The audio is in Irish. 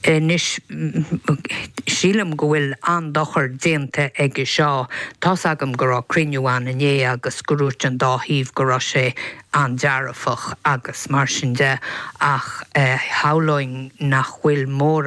Anois, sílim go bhfuil an-dochar déanta aige seo. Tá's agam go raibh cruinniú ann inné agus go ndúirt an dá thaobh go raibh sé an-dearfach agus mar sin de ach shamhlóinn nach bhfuil mórán.